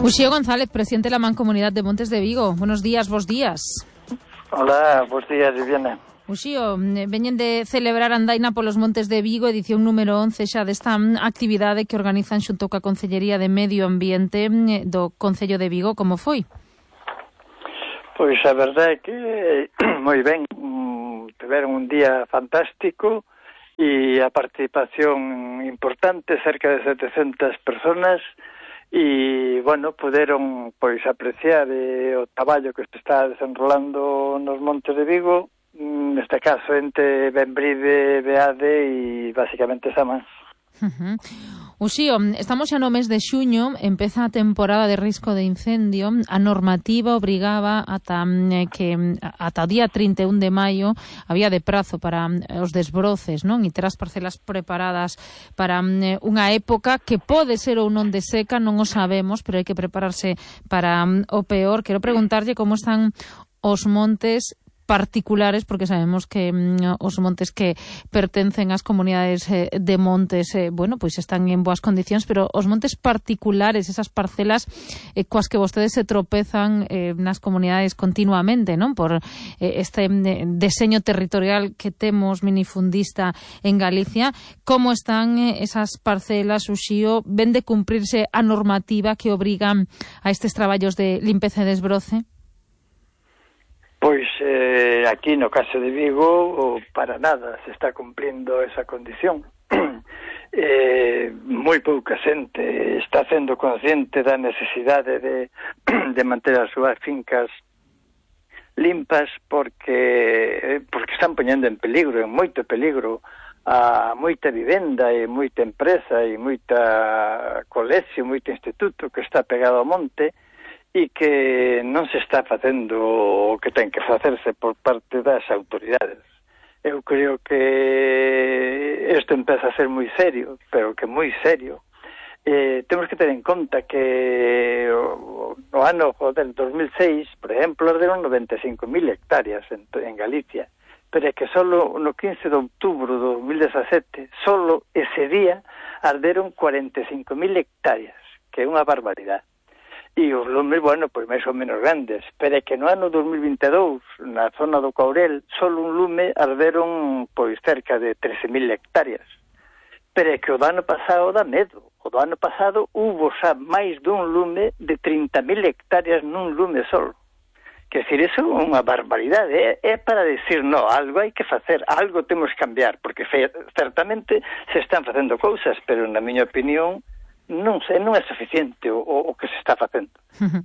Uxío González, presidente de la Mancomunidad de Montes de Vigo. Buenos días, bos días. Hola, bos días, Viviana. Uxío, veñen de celebrar Andaina polos Montes de Vigo, edición número 11 xa desta actividade que organizan xunto coa Concellería de Medio Ambiente do Concello de Vigo. Como foi? Pois a verdade é que moi ben, tiveron un día fantástico e a participación importante, cerca de 700 personas, e, bueno, puderon, pois, apreciar o traballo que se está desenrolando nos Montes de Vigo, neste caso entre Benbride, Beade e, basicamente, Samans. Uxío, estamos xa no mes de xuño, empeza a temporada de risco de incendio. A normativa obrigaba ata o día 31 de maio, había de prazo para os desbroces, non? E ter as parcelas preparadas para unha época que pode ser ou non de seca, non o sabemos, pero hai que prepararse para o peor. Quero preguntarlle como están os montes particulares, porque sabemos que os montes que pertencen ás comunidades de montes, bueno, pois están en boas condicións, pero os montes particulares, esas parcelas coas que vostedes se tropezan nas comunidades continuamente, non? Por este deseño territorial que temos minifundista en Galicia, como están esas parcelas, Uxío? Ven de cumprirse a normativa que obrigan a estes traballos de limpeza e desbroce? Pois aquí no caso de Vigo para nada se está cumplindo esa condición. Moi pouca xente está sendo consciente da necesidade de manter as súas fincas limpas porque están poñendo en peligro, en moito peligro, a moita vivenda e moita empresa e moita colegio, moito instituto que está pegado ao monte, e que non se está facendo o que ten que facerse por parte das autoridades. Eu creo que isto empeza a ser moi serio, pero que moi serio. Temos que ter en conta que no ano del 2006, por exemplo, arderon 95.000 hectáreas en Galicia, pero é que solo no 15 de outubro de 2017, solo ese día arderon 45.000 hectáreas, que é unha barbaridade. E os lumes, bueno, pois máis ou menos grandes, pero é que no ano 2022, na zona do Courel, solo un lume arderon, pois, cerca de 13.000 hectáreas. Pero é que o do ano pasado dá medo. O do ano pasado hubo xa máis dun lume de 30.000 hectáreas nun lume solo. Quer dizer, iso é unha barbaridade. É para decir, no, algo hai que facer, algo temos que cambiar, porque certamente se están facendo cousas, pero na miña opinión non é suficiente o que se está facendo.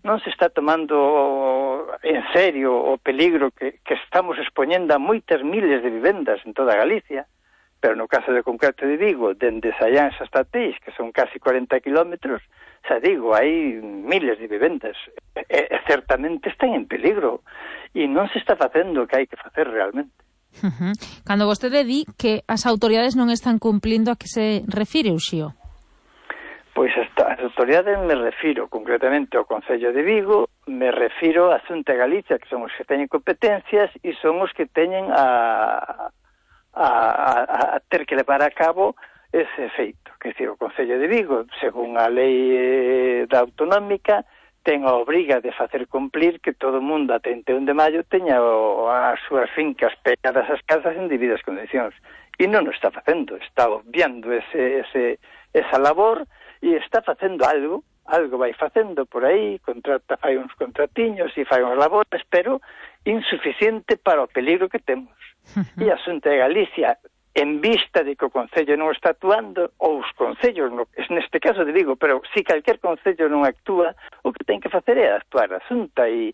Non se está tomando en serio o peligro que estamos expoñendo a moitas miles de vivendas en toda Galicia, pero no caso de concreto de Vigo, dende Sallans hasta Teix, que son casi 40 kilómetros, xa digo, hai miles de vivendas, e certamente están en peligro, e non se está facendo o que hai que facer realmente. Cando vostede di que as autoridades non están cumplindo, a que se refire, Uxío? Pois as autoridades me refiro concretamente ao Concello de Vigo, me refiro á Xunta de Galicia, que son os que teñen competencias e son os que teñen a ter que levar a cabo ese feito. Quer dizer, o Concello de Vigo, según a lei da autonómica, ten a obriga de facer cumplir que todo o mundo a 31 de maio teña as súas fincas pegadas ás casas en debidas condicións. E non o está facendo, está obviando esa labor, e está facendo algo vai facendo por aí, fai uns contratiños e fai uns labores, pero insuficiente para o peligro que temos. E a Xunta de Galicia, en vista de que o Concello non está actuando, ou os Concellos, neste caso de Vigo, pero si calquer Concello non actúa, o que ten que facer é actuar a Xunta e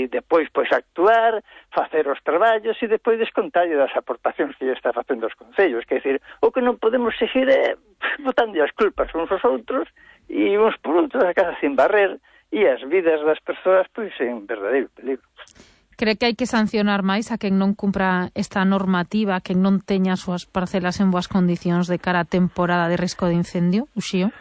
depois pois actuar, facer os traballos e depois descontarlle das aportacións que lle está facendo os Concellos. Quer dizer, o que non podemos seguir é botando as culpas uns aos outros e uns por outros a casa sin barrer e as vidas das persoas pois en verdadeiro peligro. Cree que hai que sancionar máis a quen non cumpra esta normativa, a quen non teña as súas parcelas en boas condicións de cara á temporada de risco de incendio, Uxío?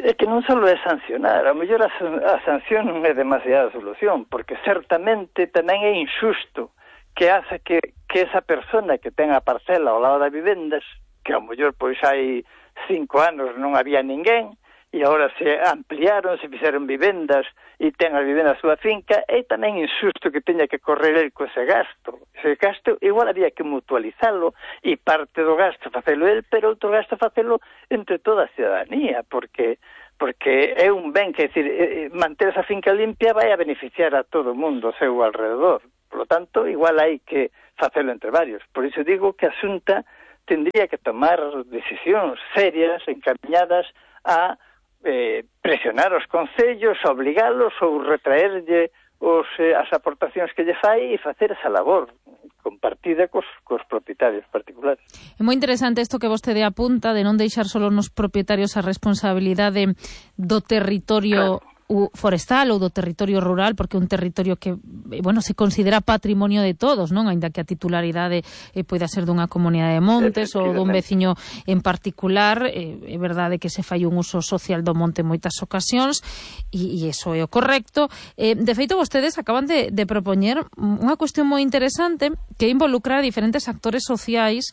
É que non só é sancionar, a mellor a sanción non é demasiada solución, porque certamente tamén é injusto que hace que esa persona que ten a parcela ao lado das vivendas, que ao mellor pois hai 5 anos non había ninguén, e agora se ampliaron, se fixeron vivendas e ten as vivendas a súa finca, é tamén injusto que teña que correr el co ese gasto. Ese gasto igual había que mutualizalo e parte do gasto facelo el, pero outro gasto facelo entre toda a ciudadanía, porque é un ben, que decir, manter esa finca limpia vai a beneficiar a todo o mundo ao seu alrededor. Por lo tanto, igual hai que facelo entre varios. Por iso digo que a Xunta tendría que tomar decisións serias, encaminhadas a presionar os concellos, obligalos ou retraerlle as aportacións que lle fai e facer esa labor compartida cos propietarios particulares. É moi interesante isto que vostede apunta de non deixar solo nos propietarios a responsabilidade do territorio forestal ou do territorio rural, porque é un territorio que, bueno, se considera patrimonio de todos, non? Aínda que a titularidade poida ser dunha comunidade de montes ou dun veciño en particular, é verdade que se fai un uso social do monte en moitas ocasións e iso é o correcto. De feito, vostedes acaban de propoñer unha cuestión moi interesante que involucra a diferentes actores sociais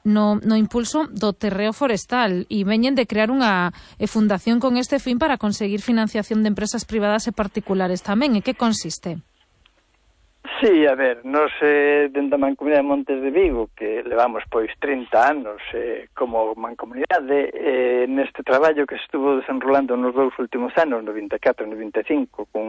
no impulso do terreo forestal e veñen de crear unha fundación con este fin para conseguir financiación de empresas privadas e particulares tamén. En que consiste? Sí, a ver, nos dentro da Mancomunidade de Montes de Vigo, que levamos pois 30 anos como mancomunidade, neste traballo que estuvo desenrolando nos 2 últimos anos, 94 e 95, con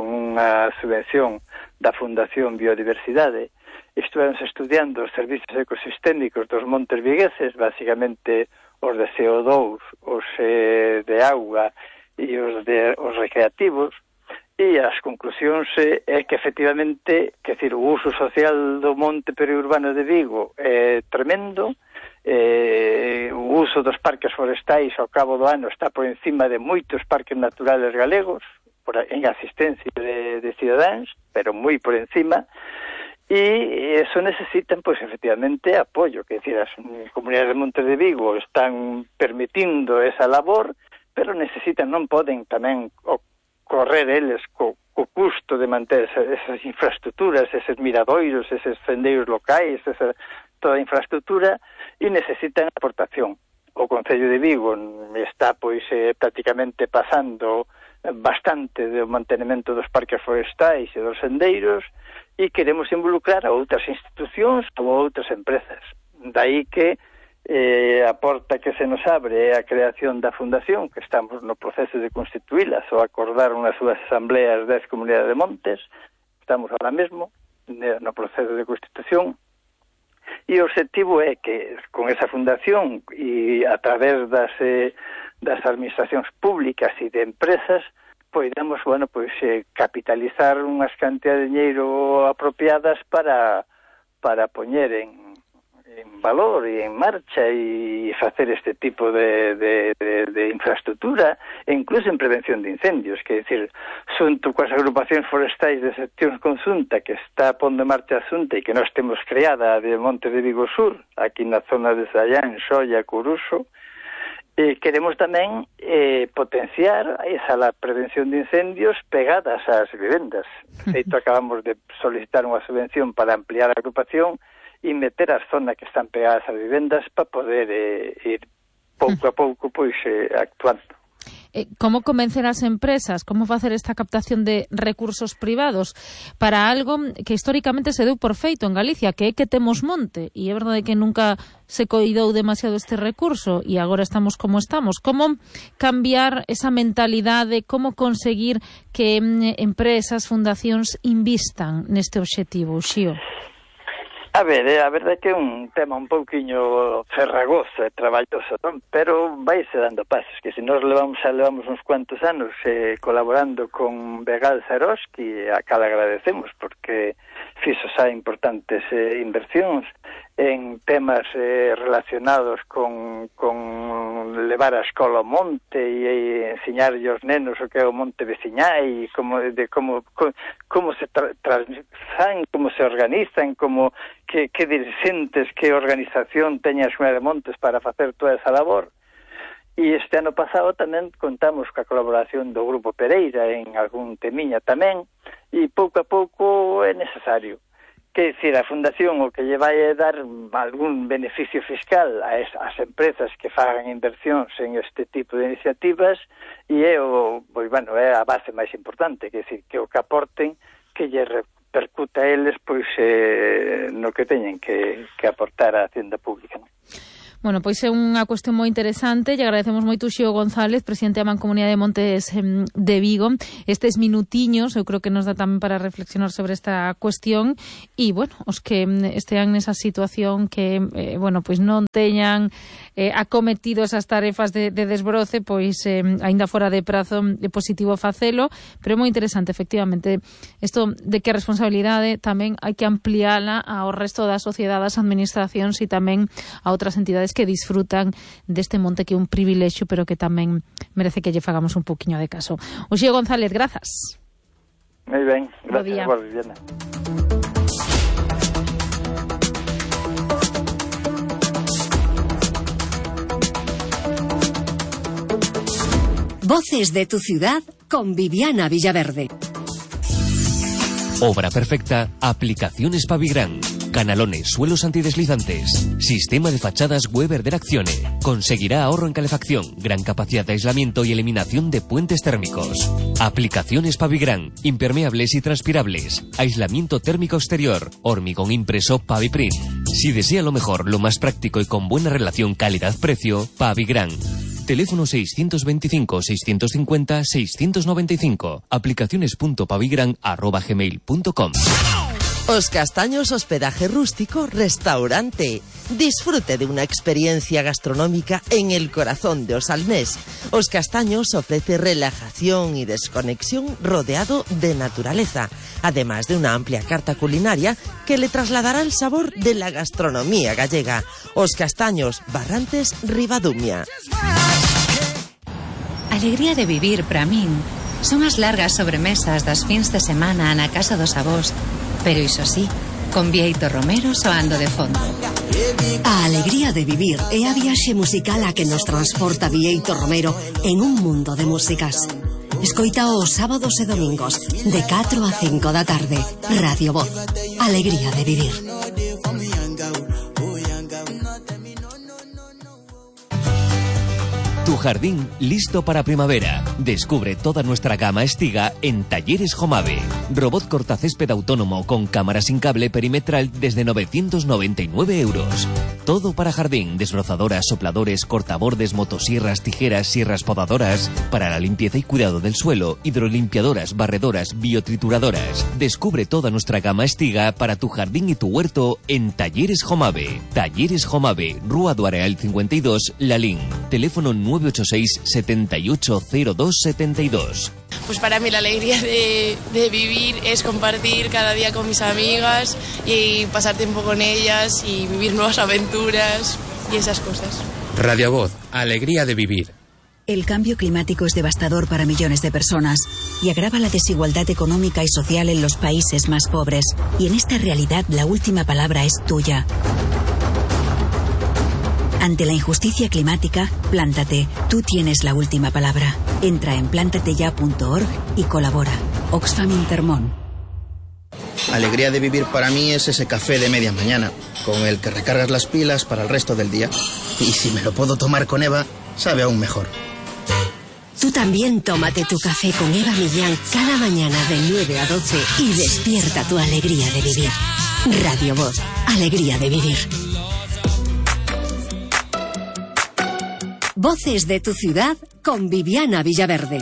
unha subvención da Fundación Biodiversidade, estuvemos estudiando os servicios ecosistémicos dos montes vigueses, basicamente os de CO2, os de auga e os recreativos, e as conclusións é que efectivamente, que decir, o uso social do monte periurbano de Vigo é tremendo, o uso dos parques forestais ao cabo do ano está por encima de moitos parques naturales galegos, en asistencia de cidadáns, pero moi por encima, e eso necesitan, pois, efectivamente, apoio, que decir, as comunidades de Montes de Vigo están permitindo esa labor, pero necesitan, non poden tamén correr eles co custo de manter esas infraestructuras, eses miradoiros, eses sendeiros locais, toda a infraestructura, e necesitan aportación. O Concello de Vigo está, pois, prácticamente pasando bastante do mantenimento dos parques forestais e dos sendeiros, e queremos involucrar a outras institucións ou a outras empresas. Daí que a porta que se nos abre é a creación da fundación, que estamos no proceso de constituílas ou acordar unhas súas asambleas 10 comunidades de montes. Estamos ahora mesmo no proceso de constitución, e o objetivo é que con esa fundación e a través das administracións públicas e de empresas poidamos, bueno, pois capitalizar unhas cantidades de dinheiro apropiadas para poñer en valor e en marcha e facer este tipo de infraestructura, e incluso en prevención de incendios, que é dicir, xunto coas agrupacións forestais de seccións conxunta que está pondo en marcha a Xunta e que nós temos creada de Monte de Vigo Sur, aquí na zona de Sallán, Xoia, Coruso, queremos tamén potenciar esa prevención de incendios pegadas ás vivendas. De feito, acabamos de solicitar unha subvención para ampliar a agrupación e meter as zonas que están pegadas ás vivendas para poder ir pouco a pouco pois actuando. Como convencer as empresas, como facer esta captación de recursos privados para algo que históricamente se deu por feito en Galicia, que é que temos monte, e é verdade que nunca se coidou demasiado este recurso e agora estamos como estamos. Como cambiar esa mentalidade, como conseguir que empresas, fundacións invistan neste obxectivo, Xío? A ver, a verdade é que é un tema un pouquiño ferragoso e traballoso, non? Pero vaise dando pasos, que se nós levamos uns cuantos anos colaborando con Begal Zaroski, a cal agradecemos, porque fixo xa importantes inversións en temas relacionados con levar a escola ao monte e ensiñarlle aos nenos o que é o monte veciñai, como se transmisan, como se organizan, como que dirixentes, que organización teña a Xunta de Montes para facer toda esa labor. E este ano pasado tamén contamos coa colaboración do Grupo Pereira en algún temiña tamén, e pouco a pouco é necesario Que decir, a Fundación o que lle vai dar algún beneficio fiscal ás empresas que fagan inversións en este tipo de iniciativas, e é a base máis importante, que decir, que o que aporten que lle repercuta a eles pois no que teñen que aportar á Hacienda Pública, non? Bueno, pois é unha cuestión moi interesante. Lle agradecemos moito Xio González, presidente da Mancomunidade de Montes de Vigo. Estes minutiños, eu creo que nos dá tamén para reflexionar sobre esta cuestión. E, bueno, os que estean nesa situación que, pois non teñan acometido esas tarefas de desbroce, pois aínda fora de prazo é positivo facelo, pero é moi interesante, efectivamente, isto de que a responsabilidade tamén hai que ampliala ao resto da sociedade, das administracións e tamén a outras entidades que disfrutan deste monte que é un privilexio, pero que tamén merece que lle fagamos un poquinho de caso. Xio González, grazas. Moi ben, gracias a vos, Viviana. Voces de tu ciudad con Viviana Villaverde. Obra perfecta, aplicaciones Pavigran. Canalones, suelos antideslizantes. Sistema de fachadas Weber de Accione. Conseguirá ahorro en calefacción, gran capacidad de aislamiento y eliminación de puentes térmicos. Aplicaciones Pavigran, impermeables y transpirables. Aislamiento térmico exterior. Hormigón impreso Paviprint. Si desea lo mejor, lo más práctico y con buena relación calidad-precio, Pavigran. Teléfono 625-650-695. Aplicaciones.pavigran@gmail.com. Os Castaños Hospedaje Rústico Restaurante. Disfrute de una experiencia gastronómica en el corazón de Osalnés. Os Castaños ofrece relajación y desconexión rodeado de naturaleza, además de una amplia carta culinaria que le trasladará el sabor de la gastronomía gallega. Os Castaños, Barrantes, Ribadumia. Alegría de vivir para min son as largas sobremesas das fins de semana na casa dos avós, pero iso sí, con Bieito Romero soando de fondo. A alegría de vivir é a viaxe musical a que nos transporta Bieito Romero en un mundo de músicas. Escoita os sábados e domingos de 4 a 5 da tarde. Radio Voz. Alegría de vivir. Tu jardín listo para primavera. Descubre toda nuestra gama Estiga en Talleres Jomave. Robot cortacésped autónomo con cámara sin cable perimetral desde 999 euros. Todo para jardín, desbrozadoras, sopladores, cortabordes, motosierras, tijeras, sierras podadoras. Para la limpieza y cuidado del suelo, hidrolimpiadoras, barredoras, biotrituradoras. Descubre toda nuestra gama Estiga para tu jardín y tu huerto en Talleres Jomave. Talleres Jomave, Rúa do Areal 52, Lalín. Teléfono 986 780272. Pues para mí la alegría de vivir es compartir cada día con mis amigas y pasar tiempo con ellas y vivir nuevas aventuras y esas cosas. Radio Voz, alegría de vivir. El cambio climático es devastador para millones de personas y agrava la desigualdad económica y social en los países más pobres. Y en esta realidad la última palabra es tuya. Ante la injusticia climática, plántate. Tú tienes la última palabra. Entra en plantateya.org y colabora. Oxfam Intermón. Alegría de vivir para mí es ese café de media mañana, con el que recargas las pilas para el resto del día. Y si me lo puedo tomar con Eva, sabe aún mejor. Tú también tómate tu café con Eva Millán cada mañana de 9 a 12 y despierta tu alegría de vivir. Radio Voz, alegría de vivir. Voces de tu ciudad con Viviana Villaverde.